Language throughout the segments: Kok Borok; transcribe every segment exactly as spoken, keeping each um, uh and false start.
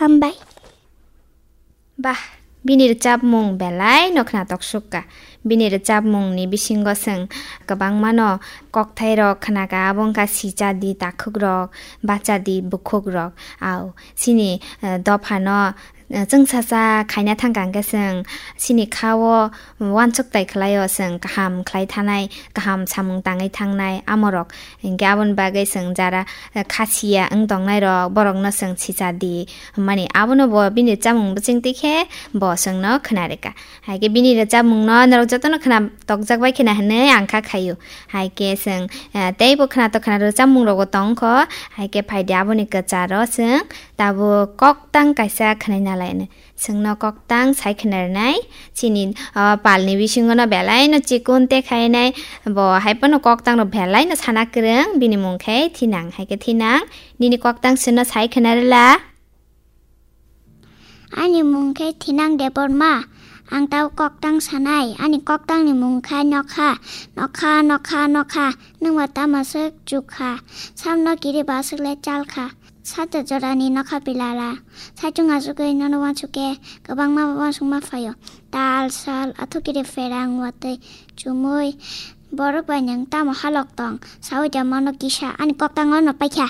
Hambai. Bah, bini rwchapmung belai no khwnatok sukha. Bini rwchapmungni bisingo chwng kwbangmano kokthairok khnakha, abo wngkha sichadi takhukrok, bachadi bukhukrok. Au, chini, eh, dophano, eh, chwngsacha khaina thangkha hwnkhe chwng chini khao uansuk tai khlaio, chwng kaham khlai thanai, kaham samung tangwi thangnai amorok. Hinkhe aboni bagwi chwng jara, eh, khasiya wng tongnairok, borokno chwng sichadi hwnmani. Abono bo bini rwchapmung bwswng twi khe bo chwngno khwna rwkha. Hai khe bini rwchapmungno norok jotono khwna tokjak bai khwna hwnwi ang kha khaio. Hai khe chwng, eh, teibo khwna to khwna rwchapmung rokbo tong kho. Hai khe phai di aboni kwcharo chwng tabuk koktang kaisa khwnaina lai hwnwi. Chwngno koktang sai khwna rwnai. Chini, ah, palni bisingo no belai no chikon te khainai. Bo hai phano koktang rok belai no sana kwrwng. Bini mung khe Thinang. Hai khe Thinang, nini koktang chwngno sai khwna rwla? Ani mung khe Thinang Debbarma. Ang tau koktang sanai. Ani koktangni mung khe nokha. Nokha, nokha, nokha. Nwng ba tamo swk chukha. Samno kiri ba swk le chalkha. Sato jorani nokha pilala. Saichung achugwi nono uansuk khe kwbangma uansukma phaio. Tal, sal, athukiri pherang, watwi, chumui. Borok bai nwng tamo halok tong? Saui da mano kisa. Ani koktango no paikha.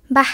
Bah,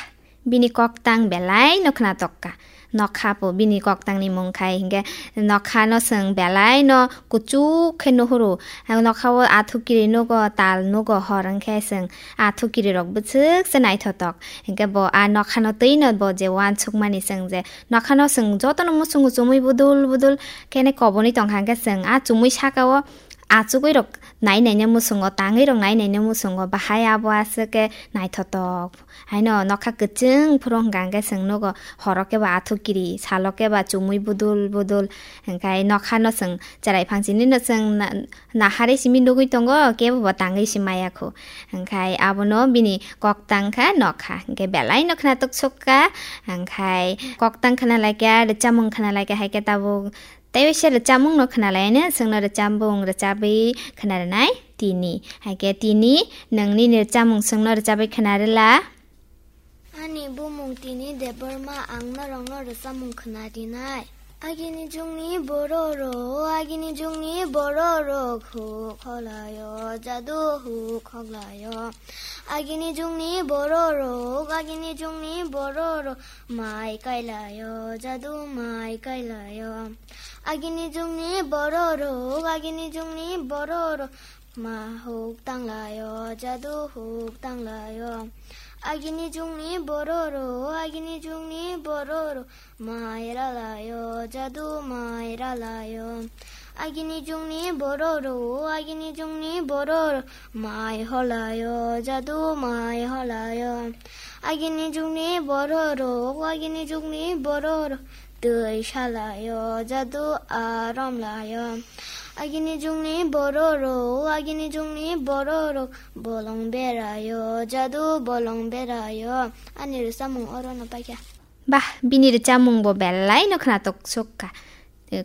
bini koktang belai no khwnatok kha. Nokha po bini koktangni mung khai hinkhe nokhano chwng belai no kuchuk khe nuhuru. Nokhao athukiri nugo, tal nugo, hor wngkhe chwng athukiri rok bwswk se naithotok. Hinkhe bo a nokhano twi no bo je uansukmani chwng je nokhano chwng jotono muchungo chumui budul budul khe kobonwi tongkha hinkhe chwng a chumui sakao achugwi rok nai naina muchungo, tangwi rok nai naina muchungo, bahai abo aswk khe naithotok. Haino nokha kwchwng phuru hwnkha hwnkhe chwng nugo, horo khe ba athukiri, salo khe ba chumui budul budul, hwnkhe nokhano chwng chwrai phangchini no chwng na-, naharwi simi nugwi tongo, kebo bo tangwi si maya khu. Hwnkhe abono bini koktang kha nokha, hwnkhe belai no khwnatok sukha, hwnkhe koktang khwna laikha, rwchapmung khwna laikha, hai khe tabuk tei waisa rwchapmung no khwna lai, ani chwngno rwchapmung rwchabwi khwna rwnai tini. Hai khe tini nwng nini rwchapmung chwngno rwchabwi khwna rwla. Ani bumung tini Debbarma, ang norokno rwchapmung khwna rinai. Agini jugni borok rok, agini jugni borok rok huk holaio, jadu huk holaio. Agini jugni borok rok, agini jugni borok rok mai kailaio, jadu mai kailaio. Agini jugni borok rok, agini jugni borok rok ma huk tanglaio, jadu huk tanglaio. Agini jugni borok rok, agini jugni borok rok mai ralaio, jadu mai ralaio. Agini jugni borok rok, agini jugni borok rok mai holaio, jadu mai holaio. Agini jugni borok rok, agini jugni borok rok twi salaio, jadu arom laio. Agini jugni borok rok, agini jugni borok rok bolong beraio, jadu bolong beraio. Ani rwchapmung orono paikha. Bah, bini rwchapmung bo belai no khwnatok sukha.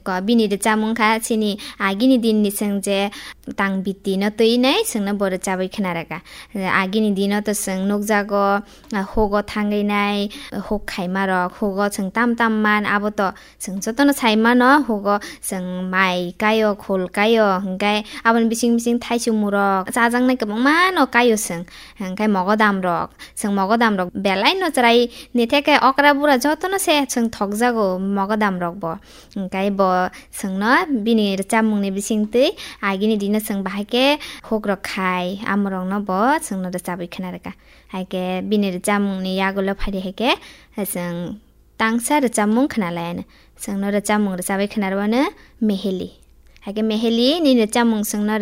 Ko bini rwchapmung kha chini agini din ni chwng je tang biti no twi nai chwngno bo rwchabwi khwna rwkha. Agini dino to chwng nukjago, ah, hugo thangwi nai, huk khaima rok, hugo chwng tam tam man, abo to chwng jotono sai mano, hugo chwng mai kaio, khul kaio, hwnkhe aboni bising bising thaichumung rok chajaknai kwbangma no kaio chwng, hwnkhe mogodam rok, chwng mogodam rok belai no chwrai nitheke okra bura jotono se chwng thokjago mogodam rok bo. Hwnkhe bo chwngno bini rwchapmungni bisingtwi agini dino chwng bahai khe hukrok khai, amorokno bo chwngno rwchabwi khwna rwkha. Hai khe bini rwchapmungni yagulo phaidi hai khe chwng tangsa rwchapmung khwna lai anw. Chwngno rwchapmung rwchabwi khwna rwano Meheli. Hai khe Meheli, nini rwchapmung chwngno